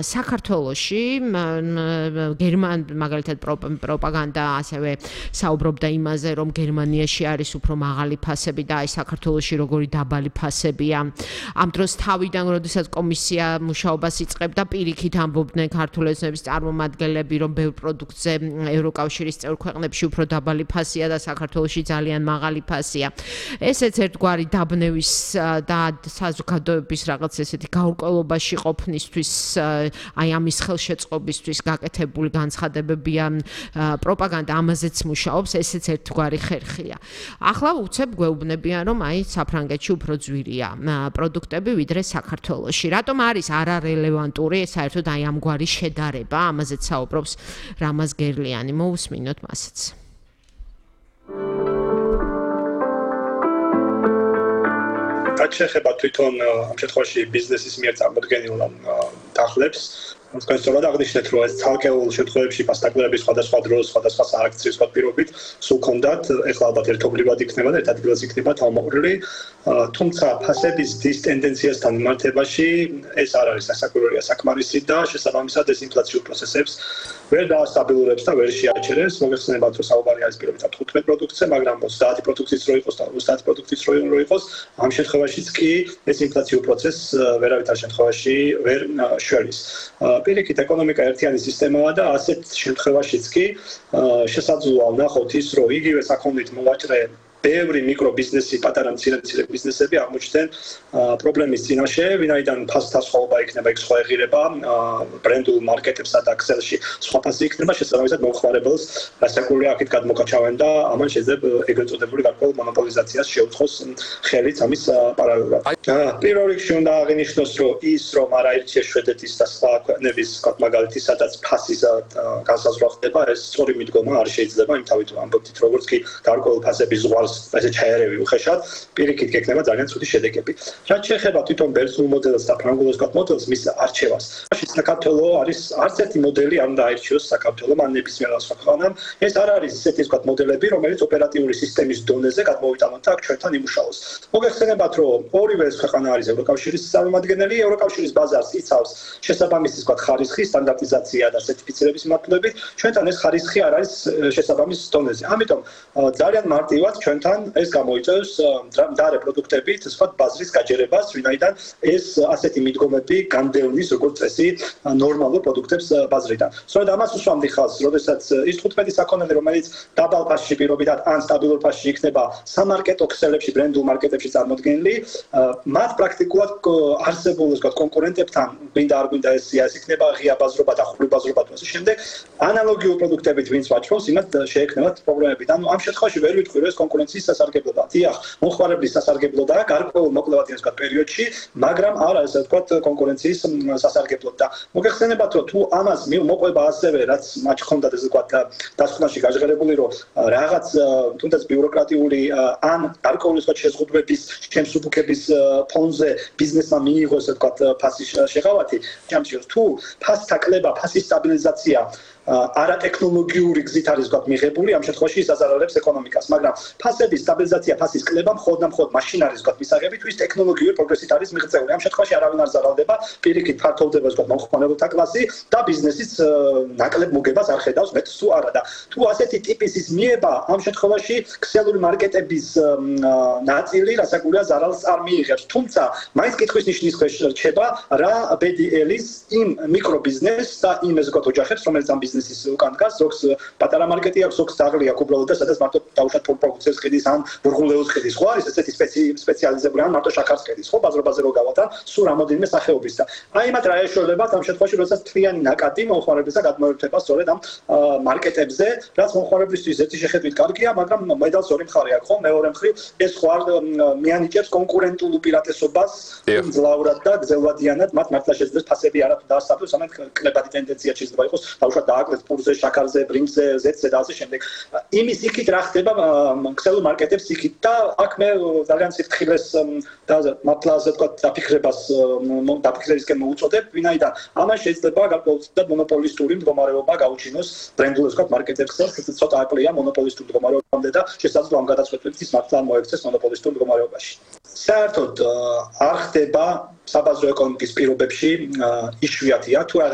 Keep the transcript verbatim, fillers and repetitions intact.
საქართველოში გერმან მაგალითად პროპაგანდა ასევე საუბრობდა იმაზე, რომ გერმანიაში არის უფრო მაღალი ფასები და აი საქართველოში როგორი დაბალი ფასებია. Ამ დროს თავიდან, როდესაც კომისია მუშაობას იწყებდა, პირიქით ამბობდნენ ქართული ოცნების წარმომადგენლები, რომ ბევრ პროდუქტზე ევროკავშირის წევრ ქვეყნებში უფრო დაბალი ფასია და საქართველოში ძალიან მაღალი ფასია. ესეც ერთგვარი დაბნევის და საზოგადოების რაღაც ესეთი გაურკვევლობაში ყოფნისთვის აი ამის ხელშეწყობისთვის გაკეთებული განცხადებებია პროპაგანდა ამაზეც მუშაობს, ესეც ერთგვარი ხერხია. ახლა უცებ გვეუბნებიან, რომ აი საფრანგეთში უფრო ძვირია პროდუქტები ვიდრე საქართველოში. რატომ არის არარელევანტური საერთოდ აი ამგვარი შედარება, ამაზეც საუბრობს რამაზ გერლიანი. მოусმინოთ მასიც. რაც შეეხება თვითონ ამ შემთხვევაში ბიზნესის მიერ წარმოდგენილ დახლებს, თქვენ სწორად აღნიშნეთ, რომ ეს ცალკეულ შემთხვევებში ფასდაკლების სხვადასხვა დროს, სხვადასხვა სააქციო პირობით სულ კონდათ, ეხლა ალბათ ერთობლივად იქნება და ერთ ადგილას იქნება თავმოყრილი, თუმცა ფასების დის ტენდენციასთან მიმართებაში ეს არ არის სასაკვირველია საკმარისი და შესაბამისად ეს ინფლაციურ პროცესებს ვერ დაასტაბილურებს და ვერ შეაჩერებს. მოგეხსენებათ, რომ საუბარი არის პირობითად თხუთმეტ პროდუქტზე, მაგრამ ოცდაათი პროდუქტის რო იყოს და ოცდაათი პროდუქტის რო იყოს, ამ შემთხვევაშიც კი ეს ინფლაციურ პროცესს ვერავითარ შემთხვევაში ვერ შველის. პირიქით ეკონომიკა ერთიანი სისტემაა და ასეთ შემთხვევაშიც კი შესაძლოა ვნახოთ ის, რომ იგივე საქონლით მოვაჭრე ბევრი მიკრობიზნესი, პატარა მცირე-მცირე ბიზნესები აღმოჩნდნენ პრობლემის წინაშე, ვინაიდან ფასთა სხვაობა იქნება, იქ სხვა ეღირება, ბრენდულ მარკეტებსა და ქსელში სხვა ფასი იქნება, შესაბამისად მომხმარებელს რასაკვირველია აქეთ გადმოკაჩავენ და ამან შეიძლება ეგრეთ წოდებული გარკვეულ მონოპოლიზაციას შეუწყოს ხელიც ამის პარალელურად. პირველ რიგში უნდა აღინიშნოს, რომ ის, რომ არაერთია შვედეთის და სხვა ქვეყნების მაგალითი, სადაც ფასის განსაზღვრა ხდება, ეს სწორი მიდგომა არ შეიძლება, იმთავით ამბობთ, როგორც კი გარკვეულ ფასების ზღვარს ესე ჩაერევი უხეშად, პირიქით გექნება ძალიან ცუდი შედეგები. რაც შეეხება თვითონ ბერძნულ მოდელს და ფრანგულ მოდელს, მის არჩევას. საქართველოს არის არც ერთი მოდელი არ უნდა აირჩიოს საქართველოს, ან ნებისმიერ სხვა ქვეყანამ. ეს არ არის ესეთი ვთქვათ მოდელები, რომელიც ოპერატიული სისტემის დონეზე გადმოვიტანოთ და აქ ჩვენთან იმუშაოს. მოგეხსენებათ, რომ ორივე ეს ქვეყანა არის ევროკავშირის წარმომადგენელი, ევროკავშირის ბაზარს იცავს შესაბამისი ვთქვათ ხარისხი, სტანდარტიზაცია და სერტიფიცირების მიმართულებით, ჩვენთან ეს ხარისხი არ არის შესაბამის დონეზე. ამიტომ ძალიან მარტივად ჩვენ ეს გამოიწვევს მდარე პროდუქტებით, სხვადასხვა ბაზრის გაჯერებას, ვინაიდან ეს ასეთი მიდგომები განდევნის როგორც წესი ნორმალურ პროდუქტებს ბაზრიდან. სწორედ ამას უსვამდი ხაზს, როდესაც ის თხუთმეტი საქონელი, რომელიც დაბალ ფასში პირობითად ან სტაბილურ ფასში იქნება სამარკეტო ქსელებში, ბრენდულ მარკეტებში წარმოდგენილი, მათ პრაქტიკულად არსებულ ვთქვათ კონკურენტებთან, გვინდა არ გვინდა ეს ეს იქნება ღია ბაზრობა და ხული ბაზრობა და ასე შემდეგ, ანალოგიურ პროდუქტებით ვინც ვაჭრობს, იმათ შეექმნათ პრობლემები. ანუ ამ შემთხვევაში ვერ ვიტყვი, რომ ეს კონკურენციის სასარგებლოა. დიახ, მომხმარებლის სასარგებლოდაა გარკვეულ მოკლევადიან ვთქვათ პერიოდში, მაგრამ არა ესე ვთქვათ კონკურენციის სასარგებლოდ და მოგეხსენებათ, რომ თუ ამას მოყვება ასევე, რაც მათ ხონდა ეს ვთქვათ დასკვნაში გაჟღერებული, რომ რაღაც თუნდაც ბიუროკრატიული ან გარკვეული ვთქვათ შეზღუდვების, შემსუბუქების ფონზე ბიზნესმა მიიღოს ესე ვთქვათ ფასის შეღავათი, ჯამში თუ ფასთა კლება, ფასის სტაბილიზაცია არატექნოლოგიური გზით არის ვთქვათ მიღებული, ამ შემთხვევაში ის აზარალებს ეკონომიკას, მაგრამ ფასების სტაბილიზაცია, ფასის კლება მხოლოდ და მხოლოდ მაშინ არის ვთქვათ მისაღები, თუ ის ტექნოლოგიური პროგრესით არის მიღწეული. ამ შემთხვევაში არავინ არ ზარალდება, პირიქით ფართოვდება ვთქვათ მომხმარებელთა კლასი და ბიზნესის ნაკლებ მოგებას არ ხედავს მეტს თუ არა და თუ ასეთი ტიპის ის მიება, ამ შემთხვევაში ქსელური მარკეტების ნაწილი რასაკვირველია ზარალს არ მიიღებს. თუმცა მაინც კითხვის ნიშნის ქვეშ რჩება რა ბედი ელის იმ მიკრობიზნესს და იმ ესე ვთქვათ ოჯახებს, რომელიც ამ ბიზნესის უკან დგას, ზოგს პატარა მარკეტი აქვს, ზოგს დაღლი აქვს უბრალოდ და სადაც მარტო დაუშვათ პროდუქციას ყიდის ან ბურღულეულს ყიდის, ხო არის ესეთი სპეციალიზებული ან მარტო შაქარს ყიდის, ხო ბაზრობაზე რო გავალთ, სულ რამოდენიმე სახეობის და აი მათ რა ეშველებათ ამ შემთხვევაში, როდესაც თლიანი ნაკადი მომხმარებლისა გადმოერთება სწორედ ამ მარკეტებზე, რაც მომხმარებლისთვის ერთი შეხედვით კარგია, მაგრამ მედალს ორი მხარე აქვს, ხო, მეორე მხრივ ეს ხო არ მიანიჭებს კონკურენტულ უპირატესობას ძლავრად და გზელვადიანად, მათ მართლა შეძლებს ფასები არა თუ დაასწავლოს, ამათ კლებადი ტენდენცია შეიძლება იყოს, დაუშვათ დააკლეს პურზე, შაქარზე, ბრინჯზე, ზეთზე და ასე შემდეგ. იმის იქით რა ხდება ქსელურ მარკეტებს იქით და აქ მე ძალიან სიფრთხილეს და მართლა ასე ვთქვათ დაფიქრებას დაფიქრებისკენ მოუწოდებ, ვინაიდან ამან შეიძლება გარკვეულწილად მონოპოლისტური მდგომარეობა გაუჩინოს ბრენდულ ვთქვათ მარკეტებს, ცოტა აკლია მონოპოლისტურ მდგომარეობამდე და შესაძლოა ამ გადაწყვეტილების ის მართლა მოექცეს მონოპოლისტურ მდგომარეობაში. საერთოდ არ ხდება საბაზრო ეკონომიკის პირობებში იშვიათია თუ რაღაც